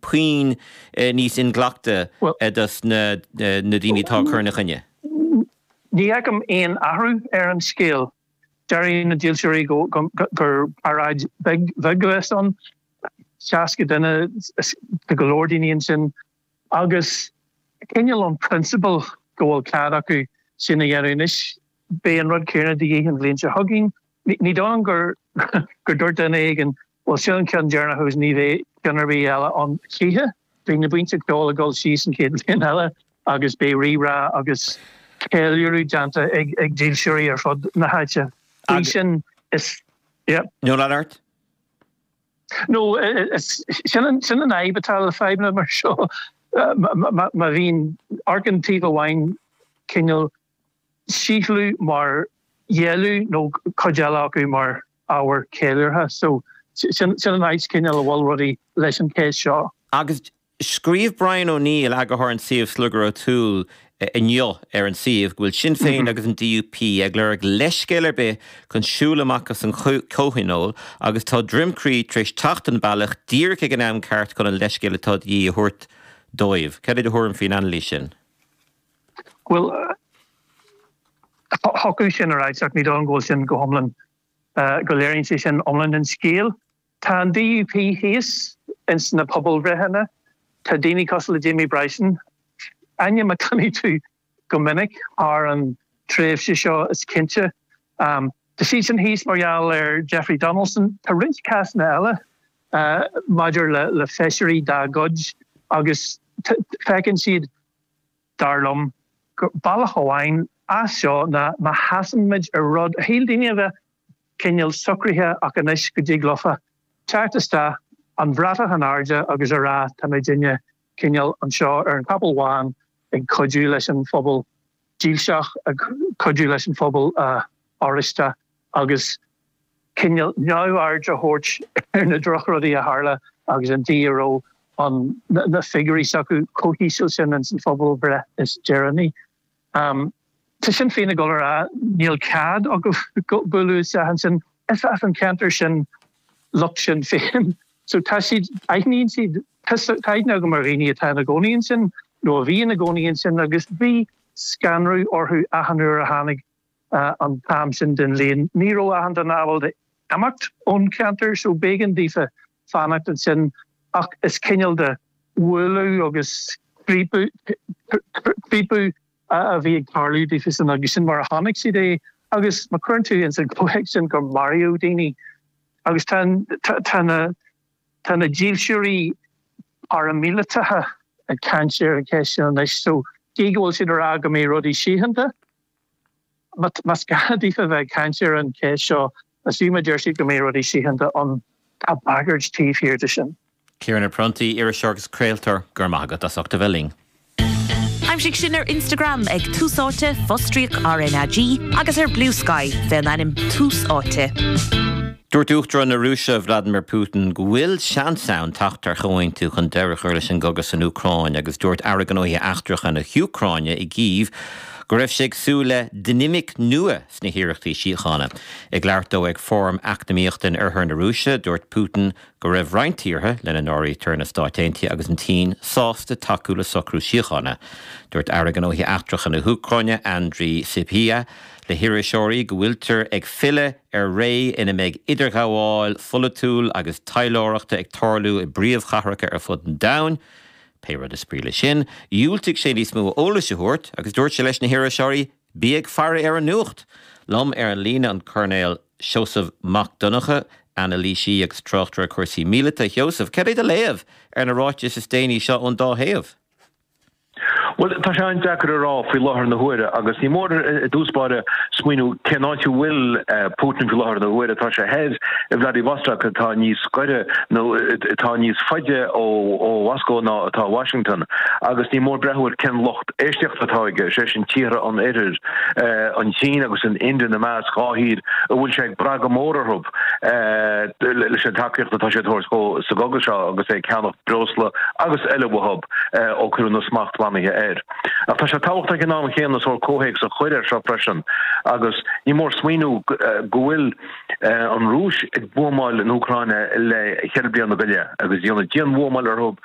puinn níos inghlactha dos na daoine atá ag cur ina choinne? Ní fheicim aon athrú ar an scéal. Deir na dílseoirí gur paráid bheag a bheas ann, 60 duine, tá go leor daoine ansin, agus cineál an prionsabal go bhfuil cead acu sin a dhéanamh. Anois, beidh an rud céanna de dhíth an bhliain seo chugainn. Ní dóigh liom gur dúirt duine éigin, bhuel sin an ceann deireanach agus ní bheidh ceann ar bith eile ann choíche. Beidh na buíonta ceoil ag dul síos an chéad bhliain eile agus beidh rí-rá agus ceiliúradh déanta ag dílseoirí ar fud na háite. Faoi sin is, yeah. No, lean ort. No, sin an fhadhb atá le fadhbanna mar seo. Má bhíonn, amharcann taobh amháin cineál síothlú mar dhealú nó cuid eile acu mar ábhar ceiliúrtha. So, sin an áit cineál a bhfuil rudaí leis an cheist seo. Agus scríobh Brian O'Neill, eagarthóir an tsuímh Sliogar O'Toole, inniu ar an suíomh go bhfuil Sinn Féin agus an DUP ag lorg leithscéal ar bith chun siúl amach as an chomhthionól agus tá Droim Crí tar éis teacht an bealach díreach ag an am ceart chun an leithscéal atá de dhíth a thabhairt dóibh. Cad é do thuairim faoin anailís sin? Bhuel, thiocfadh sin a ráit ach ní dóigh liom go bhfuil sin go hiomlán, go léiríonn sé sin iomlán an scéil. Tá an DUP thíos ins na pobalbhreitheanna, tá daoine cosúil le Jamie Bryson, ainm a chluinfidh tú go minic thar an tréimhse seo is cinnte. Tá siadsan thíos mar gheall ar Jeffrey Donaldson. Tá roinnt cásanna eile maidir le feisirí dá gcuid agus feiceann siad, dar liom, gur bealach amháin as seo ná má sheasann muid ar rud a shíl daoine a bheith cineál socraithe ach anois go dtig leofa teacht isteach, an bhratach in airde agus a rá tá muidinne cineál anseo ar an chapall bhán ag cuidiú leis an phobal dílseach, ag cuidiú leis an phobal Oráisteach agus cineál neamhaird a thabhairt ar na drochrudaí a tharla agus an dóigh a raibh an na figiúirí s'acu chomh híseal sin ins an phobalbhreith is deireanaí. Tá Sinn Féin ag dul a rá níl cead acu bualadh isteach ansin. Is as an cheantar sin lucht Sinn Féin so tá siad, aithníonn siad, tá aithne agam ar dhaoine atá ina gcónaí ansin nó a bhí ina gcónaí ansin agus bhí scanradh orthu achan uair a tháinig an t-am sin den bhliain. Ní raibh achan duine ábalta imeacht ón cheantar so b'éigean daofa fanacht ansin ach is cineál de bhualadh agus ciapadh a bhí ag tarlú daofasan agus sin mar a chonaic siad é agus má chuireann tú ins an gcomhthéacs sin gur maraíodh daoine agus tá tá na tá na dílseoirí paraimíleatacha ag caint ar an cheist sin anois so gí go bhfuil siad ag rá go mbeidh rudaí síochánta Más gá daofa bheith ag caint ar an cheist seo, is fiú má deir siad go mbeidh rudaí síochánta ann, tá bagairt taobh thiar de sin. Ciarán Ó Pronntaigh, iriseoir agus craoltóir, go raibh maith agat as ucht a bheith linn. Aimsigh sinn ar Instagram ag Tús Áite, fostríoc RnaG, agus ar Bluesky fén ainm Tús Áite. Dúirt Uachtarán na Rúise, Vladimir Putin, go bhfuil seans ann teacht ar chomhaontú chun deireadh a chur leis an gcogadh san Úcráin agus dúirt Aire Gnóthaí Eachtracha na hÚcráine i gCív go raibh sé ag súil le dinimic nua sna hiarrachtaí síochána. Ag labhairt dó ag fóram eacnamaíochta in oirthear na Rúise, dúirt Putin go raibh roinnt tíortha, lena n-áirítear na Stáit Aontaithe agus an tSín, sásta tacú le socrú síochána. Dúirt Aire Gnóthaí Eachtracha na hÚcráine, Andriy Sybiha, le hiriseoirí go bhfuiltear ag filleadh ar ré ina mbeidh idirghabháil pholaitiúil agus taidhleoireachta ag tarlú i bpríomhchathracha ar fud an domhain. Pé rud is brí leis sin, dhiúltaigh sé níos mó eolais a thabhairt agus dúirt sé leis na hiriseoirí, Bí ag faire ar an nuacht! Liom ar an líne an Coirnéal Seosamh Mac Donncha, anailísí agus tráchtaire cúrsaí míleata. A Sheosaimh, cad é do léamh ar na ráitis is déanaí seo ón dá thaobh? Bhuel, tá sé an-deacair a rá faoi láthair na huaire agus ní mór i dtús báire smaoineamh cén áit a bhfuil Putin faoi láthair na huaire. Tá sé thoir i Vladivostok atá níos gaire nó atá níos faide ó Mhoscó ná atá Washington agus ní mór breathnú ar cén lucht éisteachta atá aige, sé sin tíortha an Oirthir, an tSín agus an India ina measc, dhá thír a bhfuil sé ag brath go mór orthu leis an tacaíocht atá sé ag tabhairt dhó sa gcogadh seo agus é ag ceannach breosla agus eile uathu. ó cuireadh na smachtbhannaithe air. Ach tá sé tábhachtach ag an am chéanna sórt comhthéacs a chur air seo freisin agus ní mór smaoineamh go bhfuil an Rúis ag buamáil na hÚcráine le cheithre bliana go leith agus déanamh dianbhuamáil orthu.